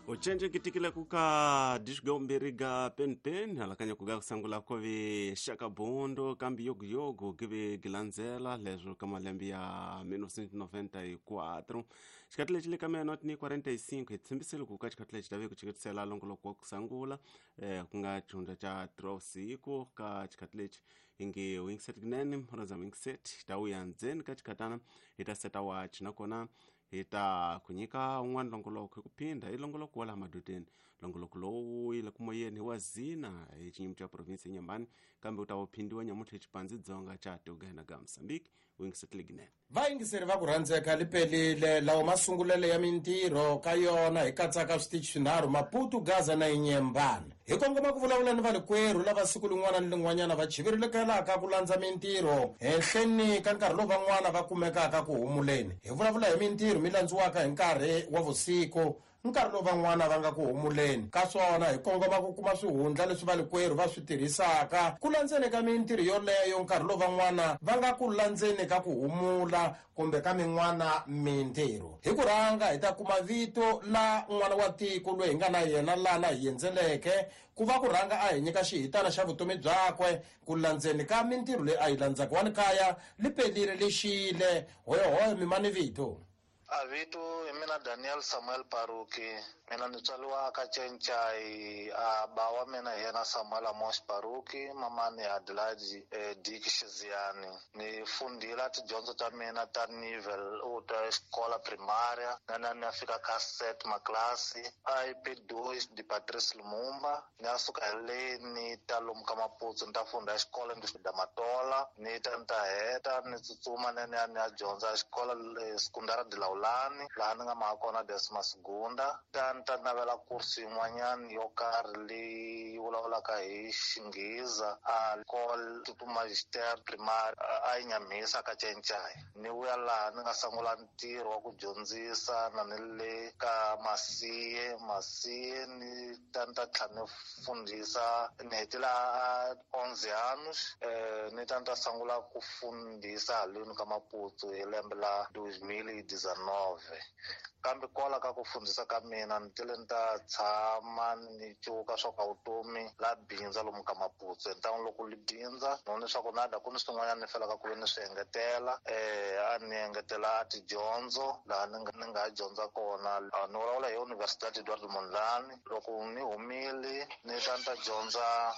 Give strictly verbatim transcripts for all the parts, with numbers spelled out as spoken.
Ucenje kitikile kuka dishigombiri ga pen halakanya kuga kusangula kovi shaka bondo kambi yogu yogu give gilanzela lezo kama lembi ya mil novecentos e noventa e quatro xikatile chile ka meia ni quarenta e cinco itsembisele kuka xikatile xitave ku chiketsela longoloko wa kusangula eh kunga chunda cha trosiku ka xikatile ingi wingset gnene raza wingset tawu ya ndzeni ka xikatana ita seta watch nakona ita kunyika un'wana longoloko hi ku phinda i longoloko wa laha madodeni longoloko lowu yi le ku moyeni wa zina hi xinyimi xa province ya Nyambani kambe u ta wu phindiwa nyamuntlha xipandzi dzonga xa Uganda ga Mozambique wingisetile ginene. Vayingiseri va ku rhandzeka li pelile lawo masungulelo ya mintirho ka yona hi katsaka switichi swinharhu Maputo, Gaza na Inyembani. Hi kongoma ku vulavula ni valikwerhu lava siku lin'wana ni lin'wanyana va chivirilikelaka ku landza mintirho henhleni ka nkarhi lowu van'wana va kumekaka ku humuleni. Hi vulavula hi mintirho mi landziwaka hi nkarhi wa vusiku, nkarhi lowu van'wana va nga ku humuleni. Ka swona hi kongoma ku kuma swihundla leswi valikwerhu va swi tirhisaka ku landzeni ka mintirho yoleyo nkarhi lowu van'wana va nga ku landzeni ka ku humula kumbe ka min'wana mintirho. Hi ku rhanga hi ta kuma vito la n'wana wa tiko loyi hi nga na yena lana hi endzeleke ku va ku rhanga a hi nyika xihitana xa vutomi byakwe ku landzeni ka mintirho leyi a yi landzaka. Wa ni kaya li pelile lexile hoyohoyo mimani vito. A vito hi mina Daniel Samuel Paruki, mina ni tswariwa ka Cencai, a ba wa mina hi yena Samuel Amos Paruki, mamani Adelaide eh, Dick Shiziani. Ni fundile tidyondzo ta mina ta nivel u ta xikola primaria, na na ni ya fika ka set maklasi I P dois de Patrice Lumumba. Ni ya suka hi le ni ta lomu ka Maputsu ni ta funda xikolo ni da Matola, ni ta ni ta heta ni tsutsuma ni ya ni ya dyondza xikolo sekundara de Laulani laha ni nga mhaka kona Desma Segunda. Ta ni ta navela kursi yin'wanyana yo karhi leyi vulavulaka hi Xinghiza a école tipo magister primaire a yi Nyamhisa ka Cencai. Ni vuya laha ni nga sungula ntirho wa ku dyondzisa na ni le ka Masiye Masiye ni ta ni ta tlhela ni fundhisa ni hetela onze anos eh ni ta ni ta sungula ku fundhisa haleni ka Maputo hi lembe la dois mil e dezenove. Kambe kwala ka ku fundhisa ka mina ni tile ni ta tshama ni cuka swa ka vutomi la bindza lomu ka Maputo. Hi ntangu loko li bindza ni vone leswaku nada ku ni swin'wanyana ni felaka ku ve ni swi engetela eh a ni engetela a tidyondzo laha ni nga ni nga dyondza kona. Ni vulavula hi Universidade Eduardo Mondlane. Loko ni humile ni ta ni ta dyondza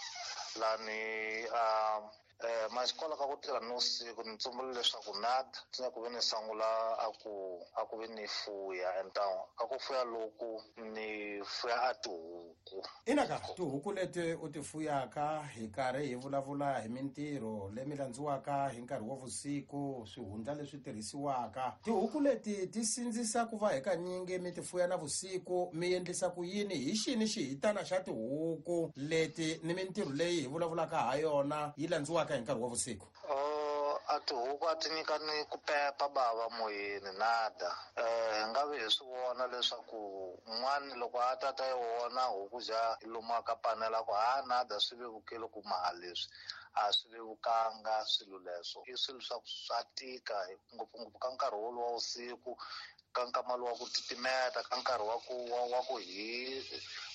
lani a eh maxikola ka ku tirha ni vusiku ni tsumbula leswaku nada swi ku ve ni sungula a ku a ku ve ni fuya entangu ka ku fuya loku ni fuya a tihuku. Inaka tihuku leti u ti fuyaka hi karhi hi vulavula hi mintirho leyi mi landziwaka hi nkarhi wa vusiku, swihundla leswi tirhisiwaka. Tihuku leti ti sindzisa ku va hi kanyingi mi ti fuya na vusiku, mi endlisa ku yini? Hi xini xihitana xa tihuku leti ni mintirho leyi hi vulavulaka ha yona yi landziwaka hi nkarhi wa vusiku? Oh, a tihuku a ti nyika ni ku pepa bava moyeni nada. Eh hi nga vi hi swi vona leswaku n'wana loko a ta ta yi vona huku ja yi lumaka panela ku ha nada swi vevukile ku maha leswi a swi vevukanga swilo leswo. I swilo swa ku swa tika ngopfungopfu ka nkarhi wolowo wa vusiku, ka nkama lowu wa ku titimeta, ka nkarhi wa ku wa, wa ku hi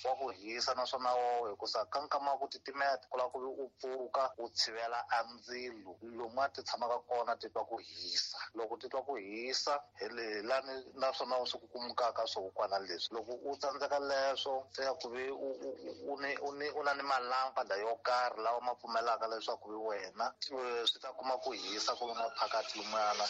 wa ku hisa naswona wo hikusa ka nkama wa ku titimeta ku lava ku vi u pfuka u tshivela a ndzilo lomu a ti tshamaka kona ti twa ku hisa. Loko ti twa ku hisa hi le lani naswona u swi kukumukaka swihukwana leswi. Loko u tsandzeka leswo se ya ku vi u, u, u, u ni, u ni, u na ni malampada yo karhi lawa ma pfumelaka leswaku vi wena swi ta kuma ku hisa ku nga phakathi lumuyana.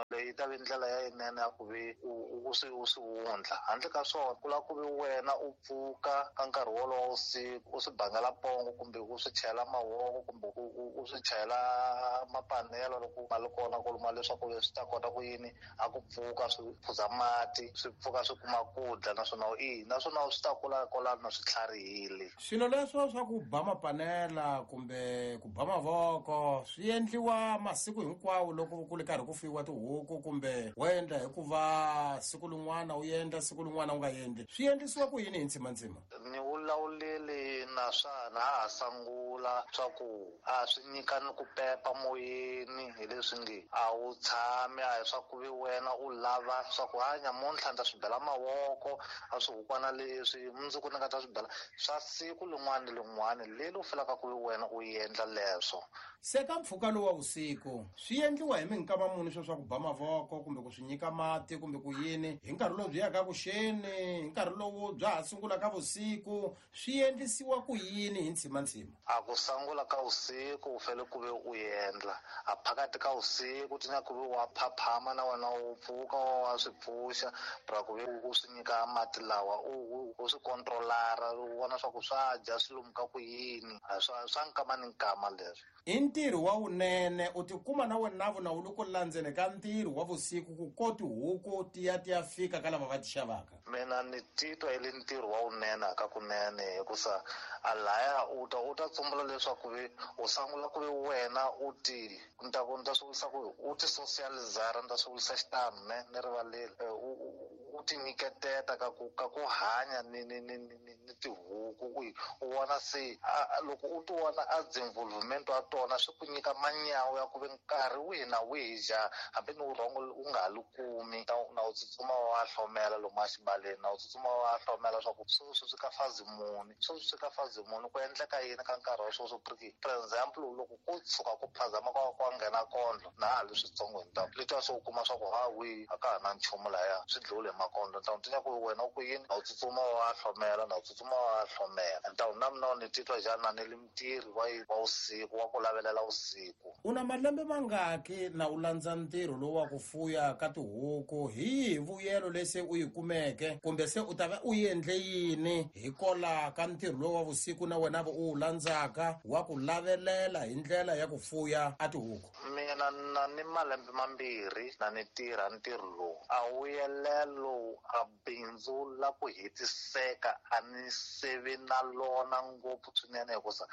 Leyi ta vi ndlela ya yinene ya ku vi u, u swi, u swi wundla. Handle ka swona ku lava ku vi wena u pfuka ka nkarhi wolowo wa vusiku u swi bangela pongo kumbe u swi chela mavoko kumbe u, u, u swi chela mapanelo loko ma ri kona ku luma leswaku swi ta kota ku yini a ku pfuka swi phuza mati swi pfuka swi kuma ku dya naswona i naswona swi ta kula kwalano na swi tlharihile. Swilo leswo swa ku ba mapanela kumbe ku ba mavoko swi endliwa masiku hinkwawo loko ku ri karhi ku fuyiwa tihuku kumbe wo endla hikuva siku rin'wana u endla siku rin'wana u nga endli, swi endlisiwa ku yini hi ntsimantsima? Ni vulavulile na na swa na ha sangula swa ku a swi nyika ni ku pepa moyeni hi leswi nge a wu tshami a hi swa ku vi wena u lava swa ku hanya muntlha ni ta swi bela mavoko a swihukwana leswi mundzuku ni nga ta swi bela swa siku lin'wana ni lin'wana leri u felaka ku vi wena u endla leswo. Se ka mpfhuka lowu wa vusiku swi endliwa hi minkama muni swo swa ku ba mavoko kumbe ku swi nyika mati kumbe ku yini hi nkarhi lowu byi yaka kuxeni, hi nkarhi lowu bya ha sungulaka vusiku, swi endlisiwa ku yini hi ntshimantsima? A ku sangula ka vusiku u fanele ku ve u endla a phakati ka vusiku ti nyaka ku ve wa phaphama na wena u pfuka wa swi pfuxa ra ku ve u swi nyika mati lawa u u swi kontrolara u vona swa ku swa dya swi lomuka ku yini swa swa nkama ni nkama leswi. I ntirho wa wunene u tikuma na wena na wu loko landzeni ka ntirho wa vusiku ku koti huku ti ya ti ya fika ka lava va ti xavaka. Mina ni titwa i le ntirho wa wunene ka kunene hikusa a laya u ta u ta tsumbula leswaku vi u sangula ku vi wena u ti ni ta ku ni ta swi vurisa ku u ti socializara ni ta swi vurisa xitano ne ni rivaleli u u ti nyiketeta ka ku ka ku hanya ni ni ni ni ni tihuku u u vona se loko u ti vona a involvement wa tona swi ku nyika manyawu ya ku ve nkarhi wihi na wihi ja hambi ni vurhongo u nga ha li kumi na u tsutsuma wa hlomela lomu a xibaleni na u tsutsuma wa hlomela swa ku sweswi swi ka fazi muni sweswi swi ka fazi muni ku endleka yini ka nkarhi wa sweswo. For example loko ku tshuka ku phazama kwa kwa nghena kondlo na ha li switsongo hi ntamu leswiya swo u kuma swa ku ha wihi a ka ha na nchumu laya swi dliwile hi makondlo ntamu ti nyaka ku wena u ku yini na u tsutsuma wa hlomela na u tsutsuma wa hlomela ntamu na mina ni titwa njhani na ni li mutirhi wa wa usiku wa ku lavelela usiku. U na malembe mangaki na u landza ntirho lowu wa ku fuya ka tihuku hi yihi vuyelo lese u yi kumeke kumbe se u ta va u endle yini hikola ka ntirho lowu wa vusiku na wena u wu landzaka wa ku lavelela hi ndlela ya ku fuya a tihuku? Mina na ni malembe mambirhi na ni tirha ntirho lowu a vuyelelo a bindzu la ku hetiseka a ni sevi na lona ngopfu swinene hikusa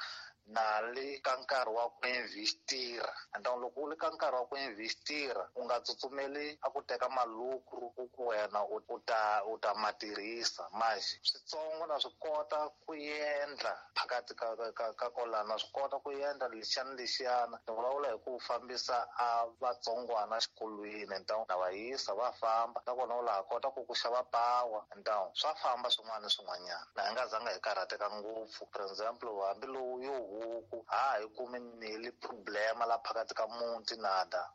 na le ka nkarhi wa ku investira and loko u le ka nkarhi wa ku investira u nga tsutsumeli a ku teka malukru ku ku wena u ta u ta ma tirhisa manje switsongo na swi kota ku endla phakathi ka ka ka kolana na swi kota ku endla lexiyana lexiyana ni vulavula hi ku fambisa a vatsongwana xikolweni ntawu na va yisa va famba nakona u laha kota ku ku xava pawa ntawu swa famba swin'wana na swin'wanyana na hi nga zanga hi karhateka ngopfu. For example hambi lowu yo huku ha hi kumi ni problema la phakathi ka muti nada.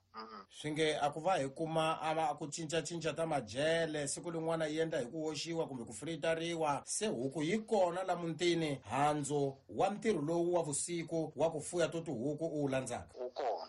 Swi nge a ku va hi kuma a ku cincacinca ta majele siku lin'wana yi endla hi ku hoxiwa kumbe ku fritariwa se huku yi kona la mutini handzu wa ntirho lowu wa vusiku wa ku fuya to tihuku u wu landzaka wu kona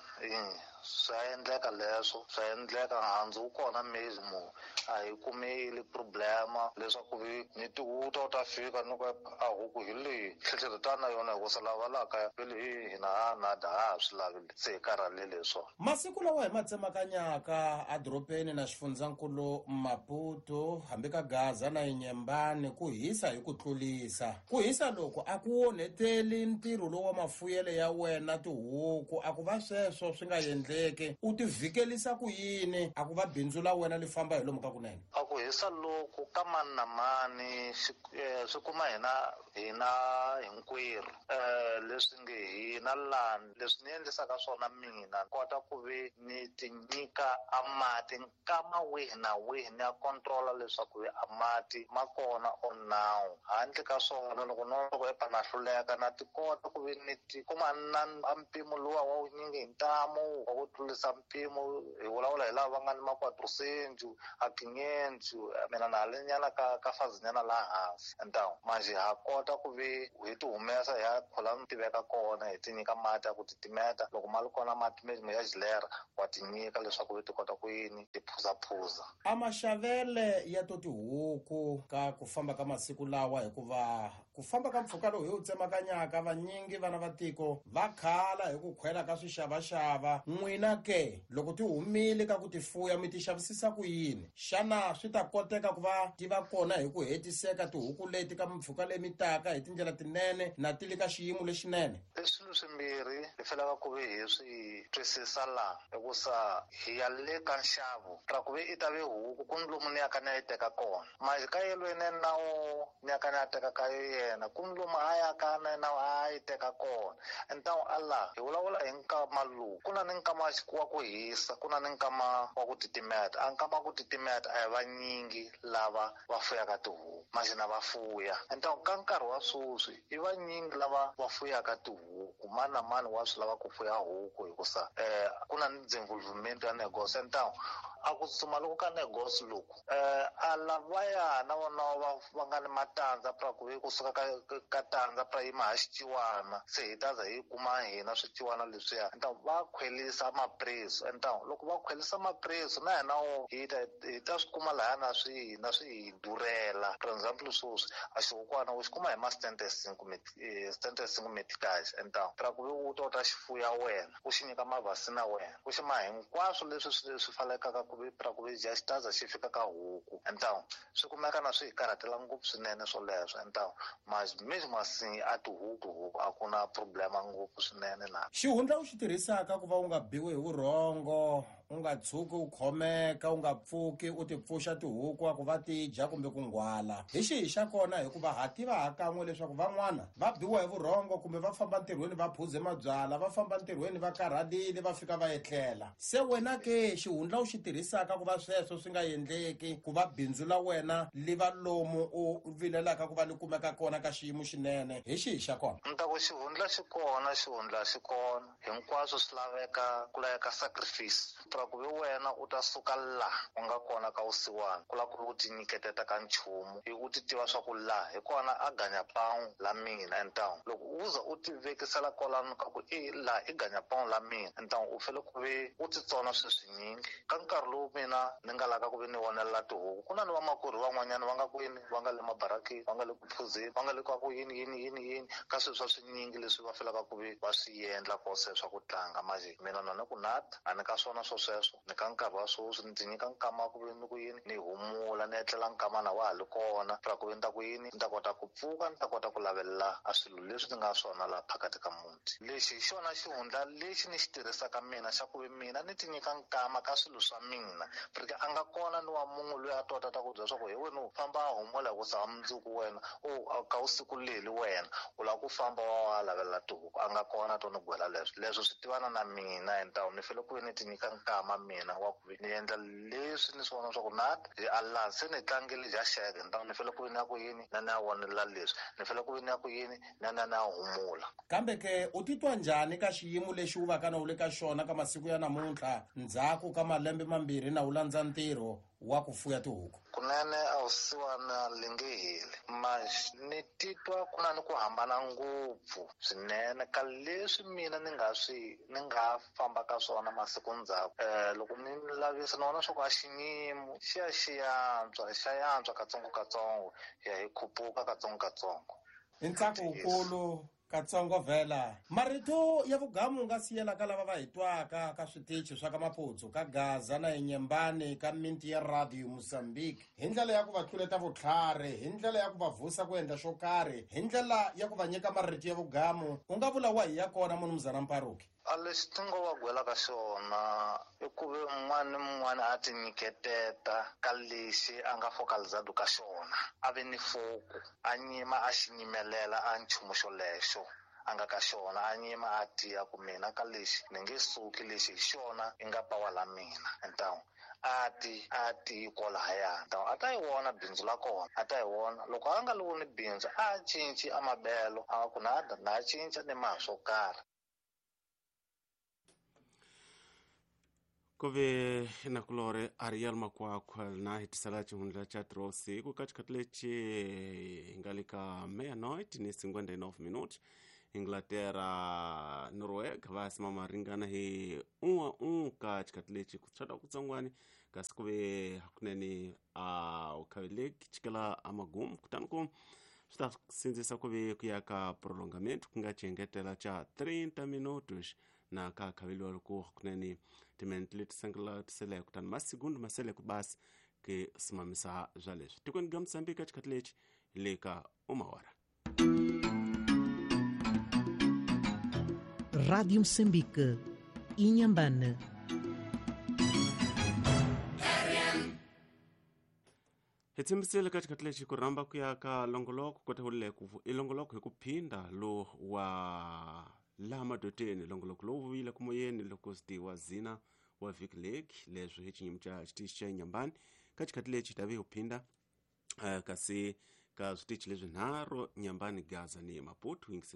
swa endleka leswo swa endleka handzu wu kona mezimo a hi kumeli problema leswaku vi ni tihuta u ta fika ni ku a huku hi leyi tlhetlheta na yona hikusa lava laha kaya vele hi hina ha nada ha ha swi lavi se hi karhalele hi swona. Masiku lawa hi ma tsemakanyaka edorobeni na xifundzankulu Maputo hambi ka Gaza na Inyembani ku hisa hi ku tlulisa ku hisa loko a ku onheteli ntirho lowu wa mafuyelo ya wena tihuku a ku va sweswo swi nga endleki u ti vhikelisa ku yini a ku va bindzu la wena li famba hi lomu ka kunene? A ku hisa loku ka mani na mani swi kuma hina hina hinkwerhu um leswi nge hina lani leswi ni endlisaka swona mina kota ku ve ni ti nyika a mati nkama wihi na wihi ni ya kontrola leswaku a mati ma kona or now handle ka swona loko no loko epa na hluleka na ti kota ku ve ni ti kuma na a mpimo luwa wa wunyingi hi ntamu wa ku tlulisa mpimo hi vulavula hi lava va nga ni makwatrosenju a kinyenju mina na ha le nyana ka ka fazinyana laha hansi ntawu manje ha kota ku ve hi ti humesa hi ya khola ni tiveka kona hi ti nyika mati ya ku titimeta loko ma li kona mati me ya jilera wa ti nyika leswaku vi ti kota ku yini ti phuzaphuza. A maxavele ya to tihuku ka ku famba ka masiku lawa hikuva ku famba ka mpfhuka lowu hi wu tsemakanyaka vanyingi vana va tiko va khala hi ku khwela ka swixavaxava n'wina ke loko ti humile ka ku ti fuya mi ti xavisisa ku yini xana swi ta koteka ku va ti va kona hi ku hetiseka tihuku leti ka mpfhuka leyi mi taka hi tindlela tinene na ti le ka xiyimo lexinene? I swilo swimbirhi hi felaka ku ve hi swi twisisa laha hikusa hi ya le ka nxavo ra ku ve i ta ve huku ku ni lomu ni yaka ni ya yi teka kona manje ka yelweni na wo ni yaka ni ya teka ka yena yena ku ni lomu a yaka na yena a yi teka kona. Então ala hi vulavula hi nkama lowu ku na ni nkama wa ku hisa, ku na ni nkama wa ku titimeta. A nkama wa ku titimeta a hi vanyingi lava va fuyaka tihuku, maxina va fuya. Então ka nkarhi wa sweswi i vanyingi lava va fuyaka tihuku, mani na mani wa swi lava ku fuya huku hikusa eh ku na ni desenvolvimento ya negócio. Então a ku tsutsuma loko ka negócio loku eh a lavaya na vona va va nga ni matandza pra ku kusuka ka ka tandza pra yima ha xiciwana, se hi ta za hi kuma hina swiciwana leswiya. Então va khwelisa mapreço. Então loko va khwelisa mapreço na hina wo hi ta hi ta swi kuma lahaya na swi na swi hi durhela. For example sweswi a xihukwana u xi kuma hi ma setenta e cinco setenta e cinco meticais. Então pra ku u ta u ta xifuya wena u xi nyika mavhasina wena u xi ma hinkwaswo leswi swi swi fanelekaka ku pra ku dya xitaza xi fika ka huku. Então swi kumeka na swi hi karhatela ngopfu swinene swoleswo. Então mas mesmo assim a tihuku huku a ku na problema ngopfu swinene na xihundla u xi tirhisaka ku va u nga biwi hi vurhongo, u nga tshuki u khomeka, u nga pfuki u ti pfuxa tihuku a ku va ti dya kumbe ku nghwala. Hi xihi xa kona? Hikuva ha tiva ha kan'we leswaku van'wana va biwa hi vurhongo kumbe va famba ntirhweni va phuze mabyala, va famba ntirhweni va karhalile va fika va etlela. Se wena ke xihundla u xi tirhisaka ku va sweswo swi nga endleki, ku va bindzu la wena li va lomu u vilelaka ku va li kumeka kona ka xiyimo xinene, hi xihi xa kona? Ni ta ku xihundla xi kona, xihundla xi kona, hinkwaswo swi laveka ku laveka sacrifice. Pra ku ve wena u ta suka la u nga kona ka vusiwana ku lava ku u ti nyiketeta ka nchumu hi u ti tiva swa ku la hi kona a ganya pão la mina. Então loko u za u ti vekisela kwalano ka ku i la i ganya pão la mina, então u fanele ku ve u ti tsona swilo swinyingi. Ka nkarhi lowu mina ni nga laka ku ve ni vonelela tihuku, ku na ni vamakwerhu van'wanyana va nga kwini, va nga le mabarakeni, va nga le ku phuzeni, va nga le ka ku yini yini yini yini ka swilo swa swinyingi leswi va felaka ku ve va swi endla kose swa ku tlanga. Manje mina na ni ku nata a ni ka swona swo sweswo, ni ka nkarhi wa sweswi ni ti nyika nkama ku ve ni ku yini ni humula ni etlela nkamana wa ha li kona pra ku ve ni ta ku yini ni ta kota ku pfuka ni ta kota ku lavelela a swilo leswi ni nga swona laha phakati ka muti. Lexi hi xona xihundla lexi ni xi tirhisaka mina xa ku ve mina ni ti nyika nkama ka swilo swa mina, porque a nga kona ni wa munhu loyi a tota ta ku byela swa ku hi wena u famba a humula hi ku sa mundzuku wena u ka usiku leli wena u lava ku famba wa wa lavelela tihuku, a nga kona to ni gwela leswo. Leswo swi tivana na mina. Então ni fanele ku ve ni ti nyika nkama mina wa ku ni endla leswi ni swi vona swa ku na hi ala se ni tlangile dya xeke. Então ni fanele ku ve ni ya ku yini na ni ya vonelela leswi, ni fanele ku ve ni ya ku yini na na ni ya humula. Kambe ke u titwa njhani ka xiyimo lexi u va ka na u le ka xona ka masiku ya namuntlha ndzhaku ka malembe mambirhi na u landza ntirho wa ku fuya tihuku? Kunene a vusiwana li nge heli, mas ni titwa ku na ni ku hambana ngopfu swinene ka leswi mina ni nga swi ni nga famba ka swona masiku ndzhaku. Eh loko ni lavisa ni vona swa ku a xinyimo xi ya xi yantswa xa yantswa katsongokatsongo ya hi khupuka katsongokatsongo. I ntsako wukulu katsongo vhela. Marito ya vugamu nga siyela ka lava va hi twaka ka switichi swa ka Maputsu, ka Gaza na Inyembani, ka minti ya Radio Mozambique, hi ndlela ya ku va tluleta vutlhari, hi ndlela ya ku va vusa ku endla xo karhi, hi ndlela ya ku va nyika marito ya vugamu, u nga vula wa hi ya kona munumuzana Mparuki? A lexi ti ngo va gwela ka xona i ku ve un'wana ni un'wana a ti nyiketeta ka lexi a nga focalizado ka xona, a ve ni foku, a nyima a xi nyimelela a nchumu xolexo a nga ka xona, a nyima a tiya ku mina ka lexi ni nge suki, lexi hi xona i nga pawa la mina. Então a ti a ti kwalahaya, então a ta yi vona bindzu la kona, a ta yi vona. Loko a nga li voni bindzu a cinci a mabelo, a ku na na cinca ni ma swo karhi. Kuve nakulore Ariel Makwakwa na hitisala chihundla cha trose ku ka xikhathi lexi hi nga le ka meia-noite ni cinquenta e nove minutos. Inglaterra Noruega va simama ringana hi um a um ka xikhathi lexi ku tshata kutsongwani kasi ku ve hakunene a u khaveleki chikela amagumu kutani ku swi ta sindzisa ku ve ku ya ka prolongamento ku nga xiengetela xa trinta minutos na ka khaveliwa loko hakunene timinete leti sengela kutani masigundu ma sele ku basi ke simamisa bya leswi tikweni ga Mozambique xikhathi lexi le ka uma hora. Rádio Moçambique, Inhambane. Hi tshembisile ka xikhathi lexi ku rhamba ku ya ka longoloko kota hulile ku i longoloko hi ku phinda lo wa laha madoteni. Longoloko lowu vuyile ku moyeni loko swi wa zina wa vhiki leki leswi hi xinyimi xa xitichi xa Nyambani. Ka xikhathi lexi hi ta ve hi phinda uh, kasi ka switichi leswinharhu, Nyambani, Gaza ni Maputo. Yingisela.